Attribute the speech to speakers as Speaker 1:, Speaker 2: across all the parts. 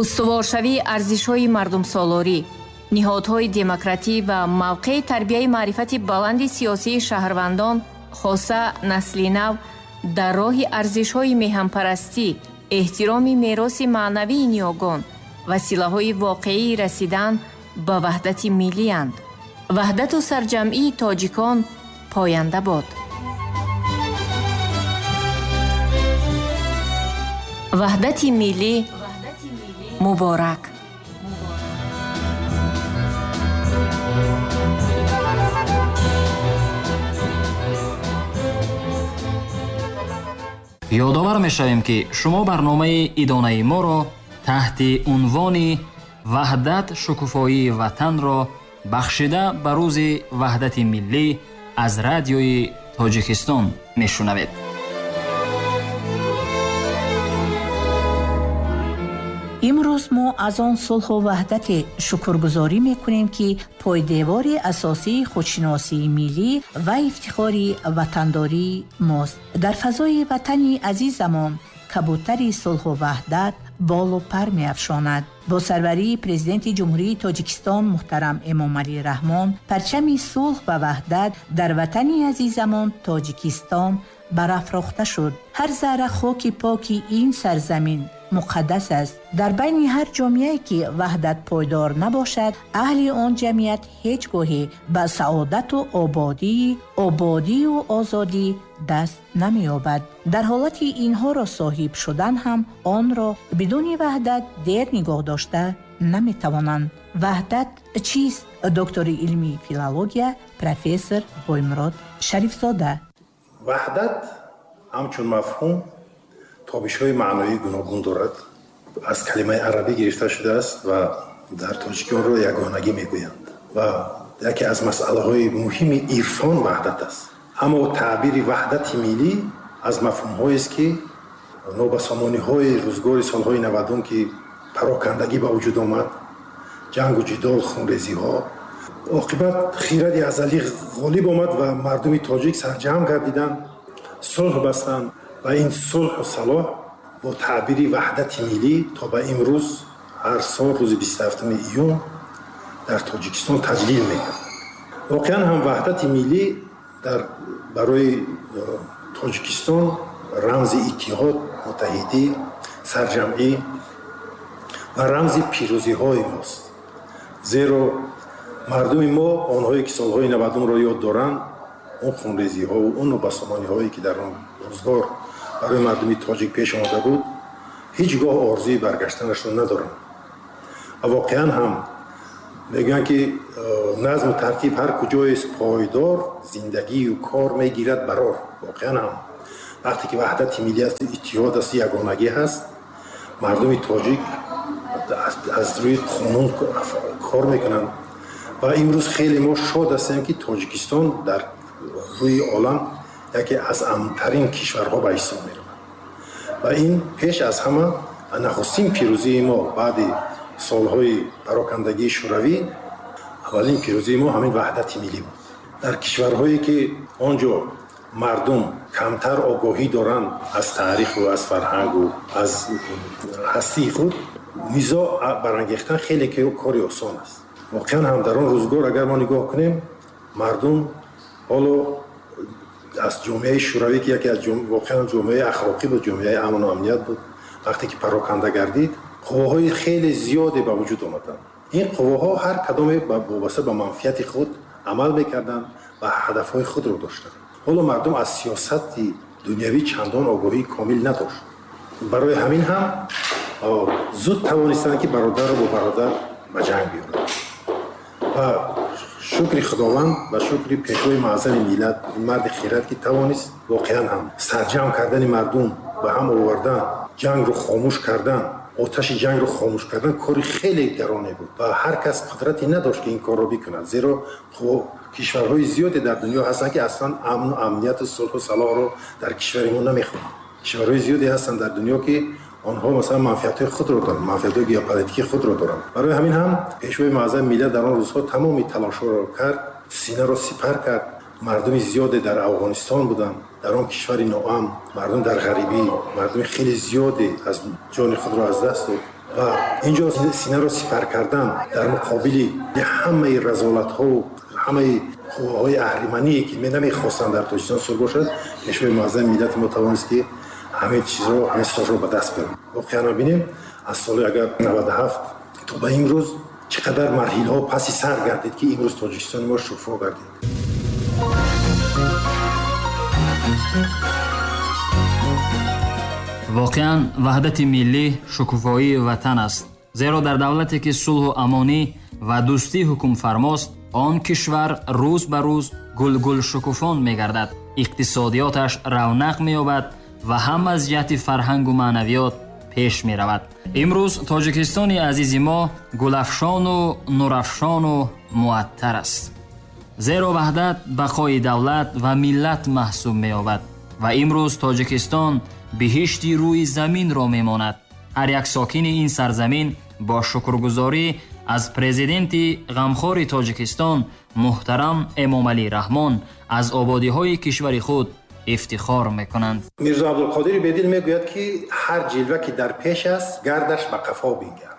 Speaker 1: Устуворшавии арзишҳои мардумсолорӣ, ниҳодҳои демократӣ ва мавқеи тарбияи маърифати баланди сиёсии шаҳрвандон, хоса насли нав, дар роҳи арзишҳои меҳанпарастӣ, эҳтироми мероси маънавии ниёгон, василаҳои воқеии расидан ба ваҳдати миллиянд. Ваҳдату сарҷамъии тоҷикон поянда бод. Ваҳдати миллӣ муборак.
Speaker 2: Ёдовар мешавем, ки шумо барномаи идонаи моро таҳти унвони «Ваҳдат шукуфоии ватанро» бахшида ба рӯзи ваҳдати миллӣ аз радиои Тоҷикистон мешунавед.
Speaker 3: Имрӯз мо аз он сулҳу ваҳдате шукргузорӣ мекунем, ки пойдевори асосии худшиносии миллӣ ва ифтихори ватандории мост. Дар фазои ватани азизамон кабутари сулҳу ваҳдат болу пар меафшонад. Бо сарварии Президенти Ҷумҳурии Тоҷикистон муҳтарам Эмомалӣ Раҳмон парчами сулҳ ва ваҳдат дар ватани азизамон Тоҷикистон барафрохта шуд. Ҳар зарра хоки поки ин сарзамин муқаддас аст. Дар байни ҳар ҷомеае ки ваҳдат пойдор набошад, аҳли он ҷамъият ҳеҷ гоҳе ба саодату ободию озодӣ даст намеёбад. Дар ҳолати инҳоро соҳиб шудан ҳам онро бидуни ваҳдат дер нигоҳ дошта наметавонанд. Ваҳдат чист? Доктори илмии филология, профессор Боймурод Шарифзода.
Speaker 4: Ваҳдат ҳамчун мафҳум тобишҳои маъноии гуногун дорад. Аз калимаи арабӣ гирифта шудааст ва дар тоҷикӣ онро ягонагӣ мегӯянд. Ва яке аз масъалаҳои муҳими ирфон ваҳдат аст. Аммо таъбири ваҳдати миллӣ аз мафҳумҳоест, ки нобасомониҳои рӯзгори солҳои 90, ки парокандагӣ ба вуҷуд омад, ҷангу ҷидол, хунрезиҳо, оқибат хиради азалӣ ғолиб омад ва мардуми тоҷик сарҷамъ гардиданд, сулҳ бастанд ва ин сулҳу салоҳ бо таъбири ваҳдати миллӣ то ба имрӯз ҳар сол рӯзи 27 июн дар Тоҷикистон таҷлил мегардад. Воқеан ҳам ваҳдати миллӣ барои Тоҷикистон рамзи иттиҳод, муттаҳидӣ, сарҷамъӣ ва рамзи пирӯзиҳои мост. Зеро мардуми мо, онҳое ки солҳои 90-ро ёд доранд, он хунрезиҳову он нобасомониҳое ки дар он рӯзгор барои мардуми тоҷик пеш омада буд, ҳеҷ гоҳ орзуи баргаштанашро надоранд. Ва воқеан ҳам мегӯянд, ки назму тартиб ҳар куҷоест пойдор, зиндагию кор мегирад барор. Воқеан ҳам вақте ки ваҳдати миллӣ аст, иттиҳод аст, ягонагӣ ҳаст, мардуми тоҷик аз рӯи қонун кор мекунанд. Ва имрӯз хеле мо шод ҳастем, ки Тоҷикистон дар рӯи олам яке аз амнтарин кишварҳо ба ҳисоб меравад. Ва ин пеш аз ҳама нахустин пирӯзии мо баъди солҳои парокандагии шӯравӣ, аввалин пирӯзии мо ҳамин ваҳдати миллӣ буд. Дар кишварҳое ки он ҷо мардум камтар огоҳӣ доранд аз таъриху аз фарҳангу аз ҳастии худ, низоъ барангехтан хеле кори осон аст. Воқеан ҳам дар он рӯзгор агар мо нигоҳ кунем, мардум ҳоло аз ҷомеаи шӯравӣ, ки яке аз воқеан ҷомеаи ахлоқӣ буд, ҷомеаи амну амният буд, вақте ки пароканда гардид, қувваҳои хеле зиёде ба вуҷуд омаданд. Ин қувваҳо ҳар кадоме вобаста ба манфиати худ амал мекарданд ва ҳадафҳои худро доштанд. Ҳоло мардум аз сиёсати дунявӣ чандон огоҳии комил надошт. Барои ҳамин ҳам зуд тавонистанд, ки бародарро бо бародар ба ҷанг биёранд. Ва шукри Худованд ва шукри пешвои муаззами миллат, ин марди хирад, ки тавонист воқеан ҳам сарҷамъ кардани мардум, ба ҳам овардан, ҷангро хомӯш кардан, оташи ҷангро хомӯш кардан кори хеле гароне буд ва ҳар кас қудрате надошт, ки ин корро бикунад. Зеро кишварҳои зиёде дар дунё ҳастанд, ки аслан амну амнияту сулҳу салоҳро дар кишвари мо намехоҳанд. Кишварҳои зиёде ҳастанд дар дунё, ки онҳо масалан манфиатҳои худро доранд, манфиатҳои геополитикии худро доранд. Барои ҳамин ҳам пешвои муаззами миллат дар он рӯзҳо тамоми талошҳоро кард, синаро сипар кард. Мардуми зиёде дар Афғонистон буданд, дар он кишвари ноамн, мардум дар ғарибӣ, мардуми хеле зиёде аз ҷони худро аз даст дод. Ва инҷо синаро сипар кардан дар муқобили ҳамаи разолатҳо, ҳамаи қувваҳои аҳримание ки намехостанд дар Тоҷикистон сулҳ бошад, Пешвои муаззами миллати мо тавонист ки ҳамаи чизро, ҳамаи сулҳро ба даст биёрад. Воқеан бинем, аз соли агар 97 то ба имрӯз чӣ қадар марҳилаҳо паси сар гардид, ки имрӯз Тоҷикистони мо шукуфо гардид.
Speaker 2: Воқеан ваҳдати миллӣ шукуфоии ватан аст, зеро дар давлате ки сулҳу амонӣ ва дӯстӣ ҳукмфармост, он кишвар рӯз ба рӯз гулгул шукуфон мегардад, иқтисодиёташ равнақ меёбад ва ҳам аз ҷиҳати фарҳангу маънавиёт пеш меравад. Имрӯз Тоҷикистони азизи мо гулафшону нурафшону муаттар аст, зеро ваҳдат бақои давлат ва миллат маҳсуб меёбад ва имрӯз Тоҷикистон биҳишти рӯи заминро мемонад. Ҳар як сокини ин сарзамин бо шукргузорӣ аз президенти ғамхори Тоҷикистон муҳтарам Эмомалӣ Раҳмон аз ободиҳои кишвари худ ифтихор мекунанд.
Speaker 4: Мирзо Абдулқодири Бедил мегӯяд, ки ҳар ҷилва ки дар пеш аст, гардаш ба қафо бингар.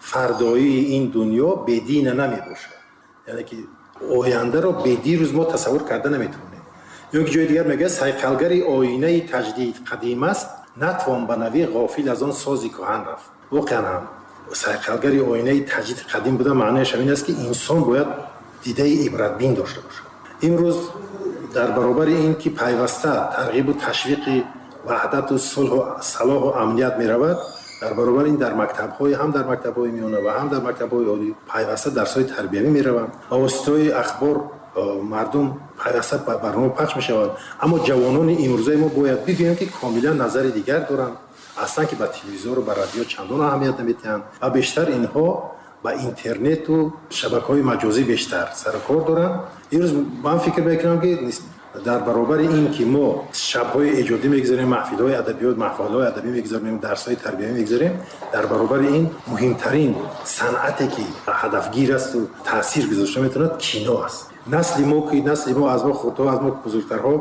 Speaker 4: Фардоии ин дунё бедина намебошад. Яъне ки ояндаро бедирӯз мо тасаввур карда наметавонем. Ё ки ҷои дигар мегӯяд, сайқалгари оинаи таҷдид қадим аст, натвон ба навӣ ғофил аз он сози кӯҳан рафт. Воқеан ҳам сайқалгари оинаи таҷдид қадим буда маънояш ҳамин аст, ки инсон бояд дидаи ибратбин дошта бошад. Имрӯз дар баробари ин ки пайваста тарғибу ташвиқи ваҳдату сулҳу салоҳу амният меравад, дар баробари ин дар мактабҳои ҳам дар мактабҳои миёна ва ҳам дар мактабҳои олӣ пайваста дарсҳои тарбиявӣ мераванд. Ба воситаҳои ахбор мардум пайваста ба барнома пахш мешаванд. Аммо ҷавонони имрӯзаи мо бояд бигӯем, ки комилан назари дигар доранд. Аслан ки ба телевизору ба радио чандон аҳамият намедиҳанд ва бештар инҳо ба интернету шабакаҳои маҷозӣ бештар сарукор доранд. Имрӯз ман фикр мекунам, ки дар баробари ин ки мо шабҳои эҷодӣ мегузарем, маҳфилҳои адабиёт, маҳфилҳои адабӣ мегузарем, дарсҳои тарбиявӣ мегузарем, дар баробари ин муҳимтарин санъате ки ҳадафгир асту таъсир гузошта метавонад, кино аст. Насли мо, ки насли мо аз мо хурдҳо, аз мо бузургтарҳо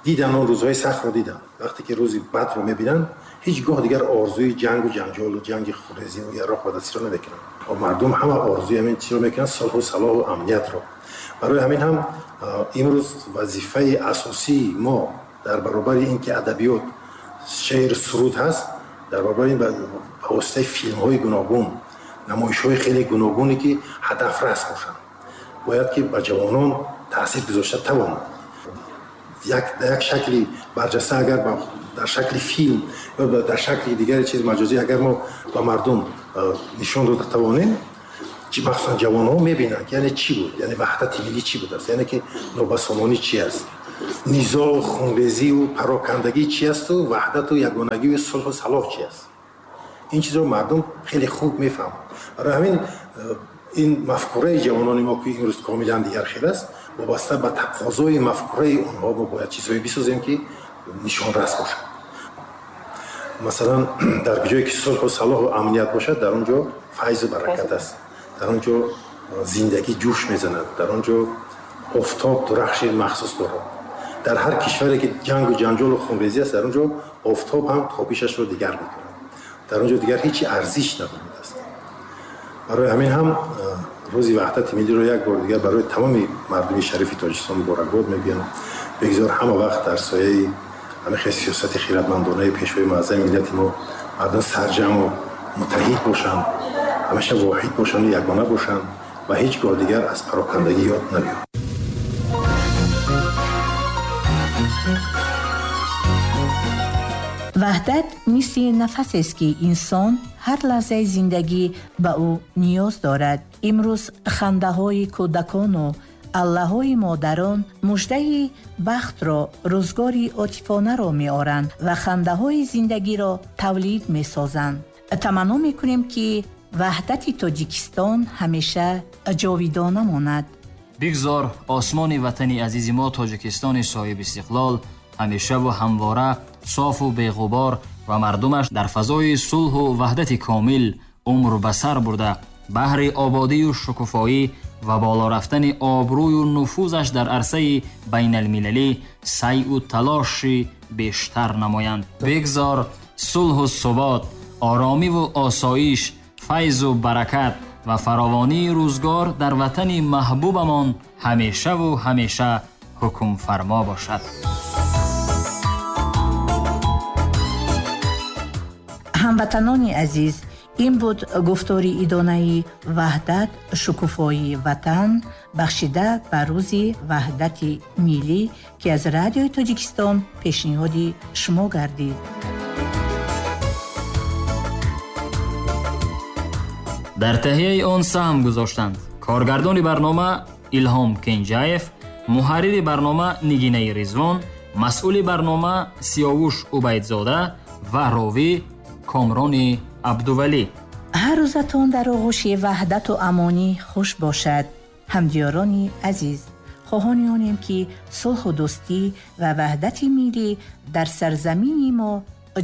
Speaker 4: дидан, он рӯзҳои сахтро дидан. Вақте ки рӯзи бадро мебинанд, ҳеҷ гоҳ дигар орзуи ҷангу ҷанҷолу ҷанги хунрезӣ ва яроқ ба дастиро намекунанд. Ва мардум ҳама орзуи ҳамин чизро мекунанд, сулҳу салоҳу амниятро. Барои ҳамин ҳам имрӯз вазифаи асосии мо дар баробари ин ки адабиёт, шеър, суруд ҳаст, дар баробари ин ба воситаи филмҳои гуногун, намоишҳои хеле гуногуне ки ҳадафрас бошанд, бояд ки ба ҷавонон таъсир гузошта тавонанд. Як шакли барҷаста агар дар шакли филм ё дар шакли дигари чиз маҷозӣ агар мо ба мардум нишон дода тавонем, махсусан ҷавонҳо мебинанд, яъне чӣ буд, яъне ваҳдати миллӣ чӣ будааст, яъне ки нобасомонӣ чӣ аст, низоъ, хунрезию парокандагӣ чӣ асту ваҳдату ягонагию сулҳу салоҳ чӣ аст. Ин чизро мардум хеле хуб мефаҳманд. Барои ҳамин ин мафкураи ҷавонони мо, ки имрӯз комилан дигар хел аст, вобаста ба тақозои мафкураи онҳо мо бояд чизҳое бисозем, ки нишонрас бошад. Масалан, дар ҷое ки сулҳу салоҳу амният бошад, дар он ҷо файзу баракат аст, дар он ҷо зиндагӣ ҷӯш мезанад, дар он ҷо офтоб дурахши махсус дорад. Дар ҳар кишваре ки ҷангу ҷанҷолу хунрезӣ аст, дар он ҷо офтоб ҳам тобишашро дигар мекунад, дар он ҷо дигар ҳеҷ арзиш надорад аст. Барои ҳамин ҳам рӯзи ваҳдати миллиро як бор дигар барои тамоми мардуми шарифи Тоҷикистон муборакбод мегӯям. Бигзор ҳама вақт дар сояи ҳамин хел сиёсати хиратмандонаи Пешвои муаззами миллати мо мардум сарҷамъу муттаҳид бошанд, ҳамеша воҳид бошанд, ягона бошанд ва ҳеҷ гоҳ дигар аз парокандагӣ ёд набиёранд.
Speaker 3: Ваҳдат мисли нафасест, ки инсон ҳар лаҳзаи зиндагӣ ба ӯ ниёз дорад. Имрӯз хандаҳои кӯдакону аллаҳои модарон муждаи бахтро, рӯзгори отифонаро меоранд ва хандаҳои зиндагиро тавлид месозанд. Таманно мекунем, ки ваҳдати Тоҷикистон ҳамеша ҷовидона монад.
Speaker 2: Бигзор осмони ватани азизи мо Тоҷикистони соҳибистиқлол ҳамешаву ҳамвора софу беғубор ва мардумаш дар фазои сулҳу ваҳдати комил умр ба сар бурда, баҳри ободию шукуфоӣ ва боло рафтани обрӯю нуфузаш дар арсаи байналмилалӣ сайъу талоши бештар намоянд. Бигзор сулҳу субот, оромиву осоиш Файзу баракат ва фаровонии рӯзгор дар ватани маҳбубамон ҳамешаву ҳамеша ҳукмфармо бошад.
Speaker 3: Ҳамватанони азиз, ин буд гуфтори идонаи «Ваҳдат шукуфоии ватан», бахшида ба рӯзи ваҳдати миллӣ, ки аз Радиои Тоҷикистон пешниҳоди шумо гардид.
Speaker 2: Дар таҳияи он саҳм гузоштанд коргардони барнома Илҳом Кенҷаев, муҳаррири барнома Нигинаи Ризвон, масъули барнома Сиёвуш Убайдзода ва ровӣ Комрони Абдувалӣ.
Speaker 3: Ҳар рӯзатон дар оғӯши ваҳдату амонӣ хуш бошад. Ҳамдиёрони азиз, хоҳони онем, ки сулҳу дӯстӣ ва ваҳдати миллӣ дар сарзамини мо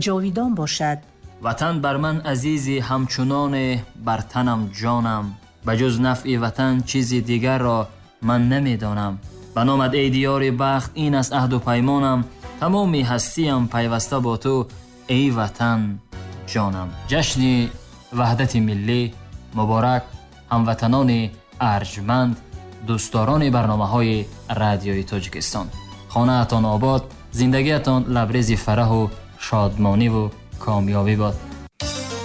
Speaker 3: ҷовидон бошад.
Speaker 2: Ватан бар ман азизи ҳамчуноне бар танам ҷонам, ба ҷуз нафъи ватан чизи дигарро ман намедонам. Ба номат эй диёри бахт, ин аст аҳду паймонам, тамоми ҳастиям пайваста бо ту эй ватан ҷонам. Ҷашни ваҳдати миллӣ муборак, ҳамватанони арҷманд, дӯстдорони барномаҳои Радиои Тоҷикистон. Хонаатон обод, зиндагиатон лабрези фараҳу шодмониву комёбӣ бод.